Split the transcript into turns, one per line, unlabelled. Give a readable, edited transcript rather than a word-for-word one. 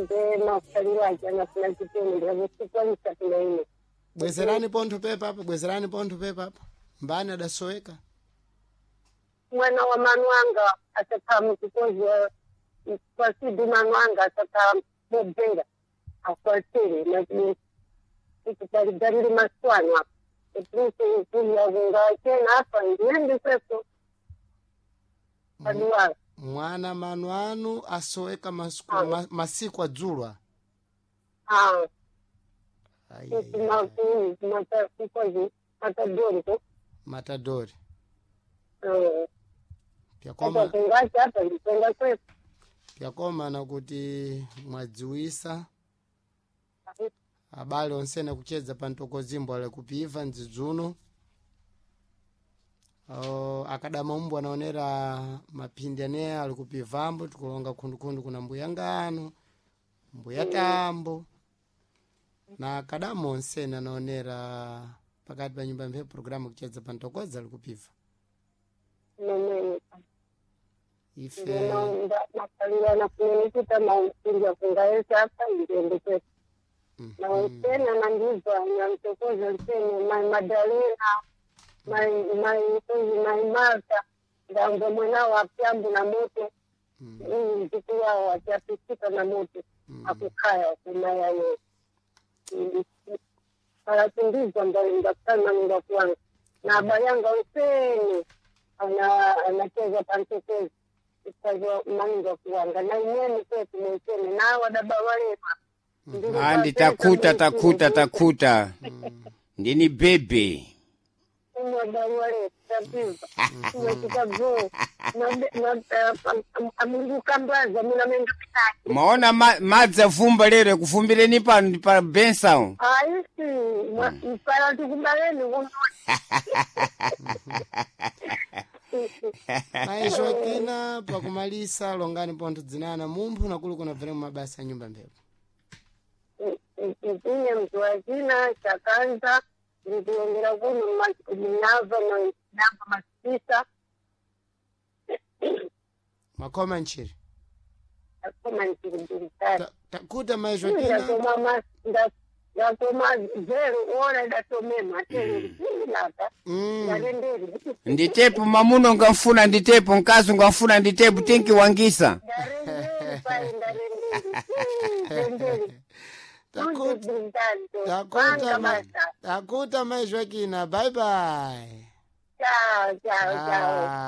Nde makaliro aja nafuna chiteni ndikusikwanisa kunaine.
Bwezerani pontho pepa apo, bwezerani pontho pepa apo. Mbani adasoweka?
Mwana wa manu anga asakhala mchikozi kwasidu, manu anga asakhala mobvera akwatire nakuti masiwano apa etiyakunga apa ndiyendiseko paduwala.
Mwana manu anu asoweka masiku,
Ah.
masiku adzulwa.
Ah.
Ai, ai, ai.
Mkozi matadoriko.
Matadori. Pyakoma.
Asakungachi apa ndisenga kwepo.
Pyakoma nakuti mwadziwisa abale onsene kuchedza pa mtokozimbo ale kupiva mdzidzuno. Oh, akadama umbu anaonera maphindi aneya ali kupivambo, tikulonga khundukhundu kuna mbuya ngano, mbuya tambo na akadama onsene anaonera pakati pa nyumba mphepo programu kuchedza pa mtokoza ali kupiva.
Nomene.
Ife
Makalirana kunenikuta maupinja kungaesa apa ndiende kwepo. Nausena nandizwa namtokoza nsene mai Madalena, mai mai mai Marta, ndambo mwana wa pyambu na moto mziki wao achapisika na moto akukhaya kumayayo alatundizwa ndakana ndakuwanga na abayanga usene anacheza pantokezi ikaza mainga kuwanga na imene kwetu mwensene nawa daba walema.
Andi takuta, takuta, takuta. Ndini bebe. Maona madzi afumba lero ekufumbireni pano pa bensawo.
Aisi mpala tikubaleni.
Mai Joaquina, pakumalisa longani pontho dzinana mumphu nakulu kunabvera mumabasa a nyumba mphepo.
Ine Mjoaquina Chakanza, ndikuongera kuno minava nava masisa.
Makhoma ntchiri.
Akoma nchiribiritari.
Takuta mai Joaquina.
Ndatoma, ndatoma zero ora ndatomema telelapa. Ndarenderi.
Nditepo mamuno ngamfuna, nditepo mkazi ngamfuna, nditepo tinkiwangisa.
Ndarenderi pai, ndarenderi renderi.
Takuta, takuta, takuta mai Joaquina, bye bye.
Ciao, ciao, ciao.
Ah.